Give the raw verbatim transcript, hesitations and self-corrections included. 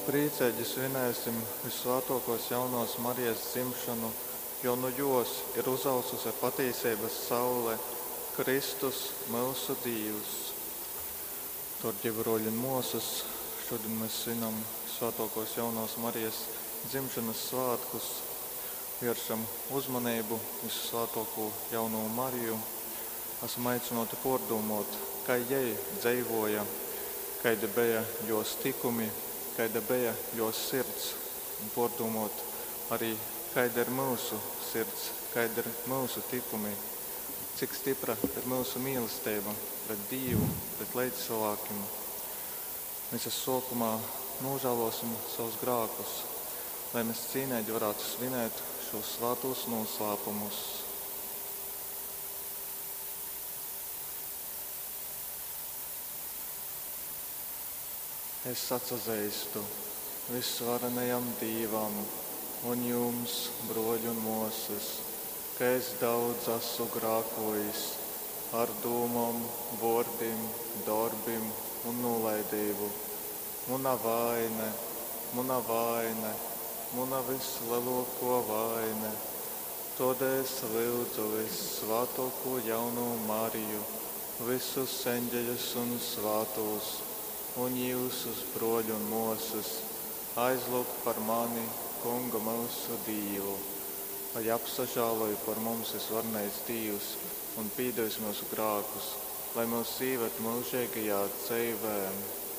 Prīceigi svinēsim Vyssvātuokuos Jaunovys Marijas dzimšonu, jo nu juos ir uzaususe patīseibys saule, Kristus, myusu Dīvs. Dārgie bruoļi un muosys, šodien mēs svinam Svētākās Jaunavas Marijas dzimšanas svātkus, vēršam uzmanību Visusvētāko Jaunavu Mariju. Esam aicināti pārdomāt, kā jai dzīvoja, kādi bija jos tikumi, kāda bija jos sirds, un pārdomāt arī, kāda ir mūsu sirds, kāda ir mūsu tikumi, cik stipra ir mūsu mīlestība pret Dievu, pret līdzcilvēkiem. Mēs sākumā nožēlosim savus grēkus, lai mēs cīnīgi varētu svinēt šos svētos noslēpumus. Es atsazīstu visvarenajam Dīvam un jums, broļi un muosas, ka es daudz esmu grēkojis ar dūmom, vārdiem, darbiem un nolaidību. Muna vaine, muna vaine, muna vislielāko vaine. Todēļ es lūdzu Vissvētāko Jauno Mariju, visus eņģeļus un svētos, un jūsus broļu un muosas, aizlūgt par mani, Kungu mūsu Dievu. Lai apsažāloja par mums visvarenais Dievs un pīdevis mūsu grēkus, lai mūs ieved mūžīgajā dzīvē.